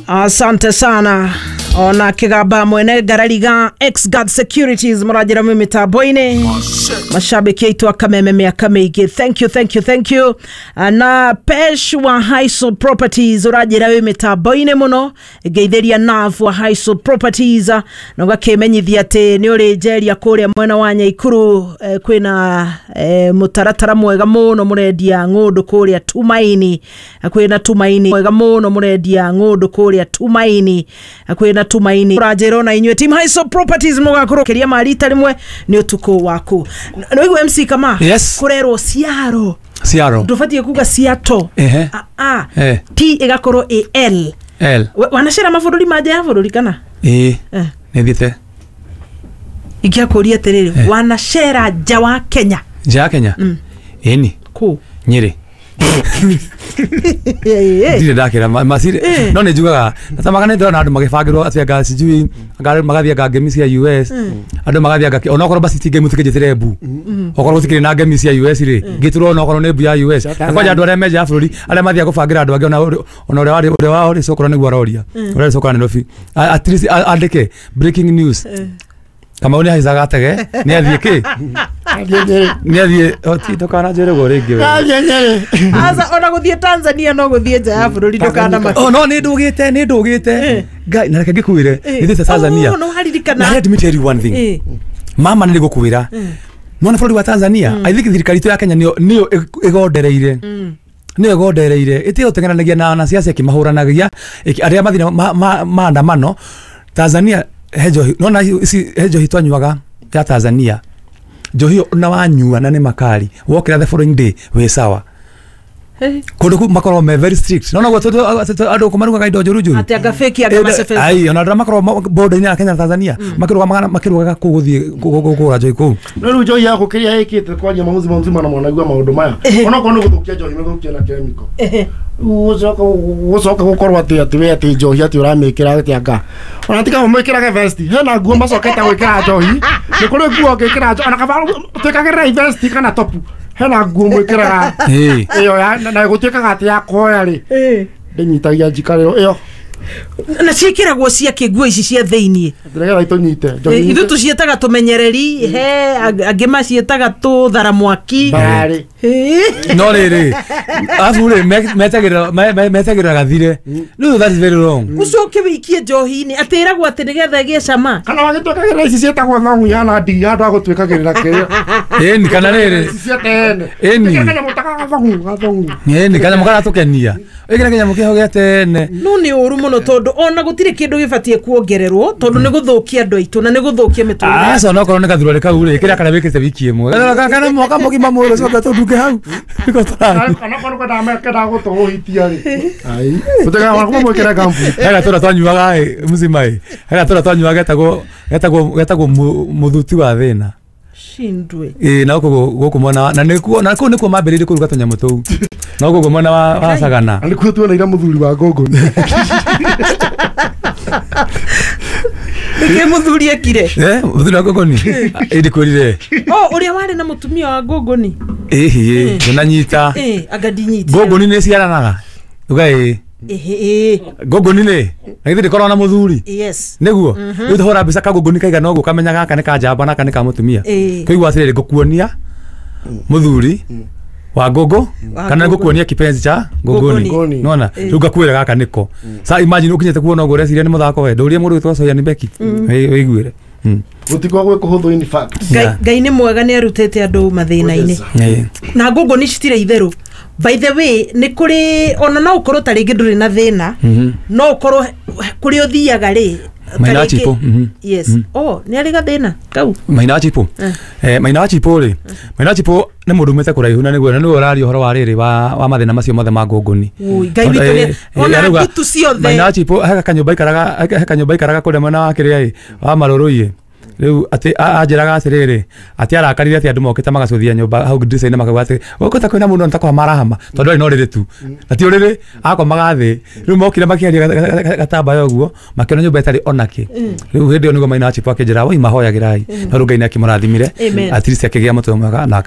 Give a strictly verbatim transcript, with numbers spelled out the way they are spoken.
Asante sana. Ona Kigaba mwene Garariga X Guard Securities murajira mu mitambo-ini. Mashabiki aitu akameme miaka miingi. Thank you, thank you, thank you. Na Pesh wa Highsol Properties urajira wi mitambo-ini muno. Ngeithiria Nav wa Highsol Properties na ugakimenyithia ati ni uri njeria kuria mwena wa Nyaikuru eh, kwina eh, mutaratara mwega muno murendia ng'undu kuria Tumaini. Kwina Tumaini mwega muno murendia ng'undu kuria Tumaini. Kwina Tumaini urajira na inywe team Highsol Properties mugakorwo kiria marita rimwe ni utuku waku. No igu M C kama yes. Kurerwo Ciaro Ciaro ndubatie kuga Ciato. Ehe. A a eh. T igakorwo A L L. Wanacera mabũrũri manja ya bũrũri kana? Ĩĩ. Eh. Nĩthiĩte. Ingĩakũria atĩrĩrĩ, Eh. wanacera nja wa Kenya? Nja ya Kenya? Mm. Ĩni. Kũ? Nyĩrĩ. Ndirĩ ndakĩra ma- macirĩ Eh. no nĩ njugaga natamaga nĩ ndĩrona andũ magĩbangĩrwo atĩ anga sijui anga andũ magathiĩ anga ngemi cia U S andũ magathiĩ anga onokorwo basi ti ngemi tũkĩnjĩtĩre mbu okorwo gũtikĩrĩ na ngemi cia U S rĩ ngĩtũrwo onokorwo nĩ mbu ya U S na kwanja andũ arĩa me nja ya bũrũri arĩa mathiaga gũbangĩra andũ angĩ ona ũrĩ- ona ũrĩa warĩ ũrĩa wao rĩ cokora nĩguo aroria ũrĩa cokora Nairobi A- at least a- andĩke breaking news Kamau nĩ ahaicaga tege nĩ athiĩ kĩ nĩ athiĩ oti ndũkananjĩre ũguo rĩngĩ we. Aca ona gũthiĩ Tanzania no gũthiĩ nja ya bũrũri ndũkanamake. Oh no nĩ ndũgĩte nĩ ndũgĩte Ngai na reke ngĩkwĩre nĩ thiĩte Tanzania. Oh, no waririkana. Na let me tell you one thing. Eh. Mama nĩ ngũkwĩra nona bũrũri wa Tanzania I think thirikari itũ ya Kenya nĩyo nĩyo ĩgondereire nĩyo ĩgondereire ĩtige gũteng'eranagia na wanasiasa ĩkĩmahũranagia ĩkĩ- arĩa mathina ma- ma- maandamano Tanzania he njohi nona ici he njohi twanyuaga ya Tanzania njohi ĩyo na wanyua na nĩ makari wokĩra the following day wĩ sawa kũndũ kũu makoragwo me very strict nona guo andũ kũ marugaga indo njũru njũru Atĩ anga fake anga macebe. ai ona andũ arĩa makoragwo border-inĩ ya Kenya na Tanzania makĩrũgamaga makĩrũgaga kũu gũthiĩ kũgũra njohi kũu no rĩu njohi ya gũkĩria ĩkĩte kwaria mamũzima mzima na mwanaigua maũndũ maya onokorwo nĩ gũthũkia njohi mĩthũkie na chemical gũcoka gũcoka gũkorwo atĩ atĩ we atĩ njohi atĩ ũramĩkĩra atĩ anga ona tiga mũmĩkĩrage vesti hena nguo macokete gwĩkĩra njohi nĩ kũrĩ nguo ũngĩkĩra njohi ona kaba twĩkagĩrĩra vesti kana topu hena nguo mwĩkĩraga Ĩĩ. ĩyo ya na gũtuĩkaga atĩ ya kuoya rĩ Eh. ndĩnyitagia njikarĩro ĩyo Na ciĩkĩragwo cia kĩ nguo ici cia thĩiniĩ? nĩgetha itũnyite njohi Ithuĩ tũciĩtaga tũmenyereri he angĩ maciĩtaga tũthara mwaki. mbarĩ Eh. no rĩrĩ arabu rĩ me- metagĩrĩra me- me- metagĩrĩra gathire rĩu that is very wrong Ũcoke wĩikie njohi-inĩ atĩ ĩragwo atĩ nĩgetha ĩgĩe cama. kana wagĩtuĩkagĩrĩra ici ciĩtagwo thongu ihana ndigi handũ ha gũtuĩkagĩrĩra kĩrĩa ĩni kana rĩrĩ ici cia tene Ĩni. Ĩkĩra kanyamũ ta gathongu gathongu ĩni kanyamũ karatũkenia ĩkĩra kanyamũ kĩho gĩa tene No nĩ ũru mũno tondũ ona gũtirĩ kĩndũ gĩbatiĩ kuongererwo tondũ nĩ gũthũkia andũ aitũ na nĩ gũthũkia mĩtũrĩre. aca onokorwo nĩ gathurarĩ kau rĩ kĩrĩa karĩa wĩkĩte wiki ĩmwe Gathura kana mwaka mũgima mwĩrĩ ũcoke tũndunge hau nĩko tũrathiĩ. kana korwo kwendaga kendaga gũtũhũhitia rĩ ai gũtuĩkaga kuma mwĩkĩre ngambuti He gatũra twanyuaga ĩ mzima ĩ he gatũra twanyuaga getagwo getagwo getagwo mu- mũthuti wa thĩna Shindwe. ĩ na gũkũ gũkũ mwena wa na nĩkuo na kũu nĩkuo mambĩrĩirie kũruga tũnyamũ tũu no gũkũ mwena wa wa Sagana na nĩkuo tuoneire mũthuri wa ngũngũni Nĩkĩ mũthuri ekire? eh mũthuri wa ngũngũni ĩ ndikwĩrire Oh, ũrĩa warĩ na mũtumia wa ngũngũni. ĩhĩ ndũnanyita Eh, anga ndinyitire. ngũngũni nĩ ciaranaga uga ĩ Ĩhĩ, ĩ. ngũngũni nĩ na githĩ ndĩkoragwo na mũthuri Yes. nĩguo rĩu tũhũra mbica kangũngũni kaigana ũguo ũkamenya gaka nĩ ka njamba na gaka nĩ ka mũtumia Ĩĩ. kũigua atĩrĩrĩ ngũkuonia mũthuri wa ngũngũ Wa kana ngũngũ. ngũkuonia kipenzi cha ngũngũni Ngũngũni. nona rĩu ngakwĩra gaka nĩko sa imagine ũkinyĩte kuona ũguo ũreciria nĩ mũthako we ndũrie mũndũ wĩtwo Soyan Beki wĩiguĩre Mm. gũtikoragwo gwĩ kũhũthũ in fact Ngai Yeah. Ngai nĩ mwega nĩ arutĩte andũ mathĩna-inĩ. Ĩĩ. Na ngũngũni citirĩ itherũ. By the way, nĩ kũrĩ ona no ũkorwo ta rĩngĩ ndũrĩ na thĩna Mhm. no ũkorwo kũrĩa ũthiaga rĩ ta Maina wa rĩngĩ- Chipo, mhm. Yes. Oh, nĩ arĩ gathĩna kau. Maina wa Chipo Eh. eh Maina wa Chipo rĩ Maina wa Chipo nĩ mũndũ umĩte kũraihu na nĩguo na nĩwe ũraria ũhoro wa rĩrĩ wa wa mathĩna macio mothe ma ngũngũni Ui, Ngai witũ nĩ ona arauga, ndutu ciothe. Maina wa Chipo he kanyũmba aikaraga he kanyũmba aikaraga kũrĩa mwena wa kĩrĩa ĩ wa marũrũ-ĩ rĩu atĩ a- anjĩraga atĩrĩrĩ atĩ arakarire atĩ andũ mokĩte magacũthia nyũmba hau ndirica-inĩ makauga atĩ gũkũ ta kwĩna mũndũ na ta kũhama arahama tondũ arĩ na ũrĩrĩ tu na ti ũrĩrĩ akomaga thĩ rĩu mokire makĩaria gatambaya ũguo makĩona nyũmba ĩtarĩ onakĩ rĩu hĩndĩ ĩyo nĩguo Maina wa Chipo akĩnjĩra woi mahoyagĩrai no rĩu Ngai nĩ akĩmũrathimire Amen. at least akĩgĩa mũtwe mwega na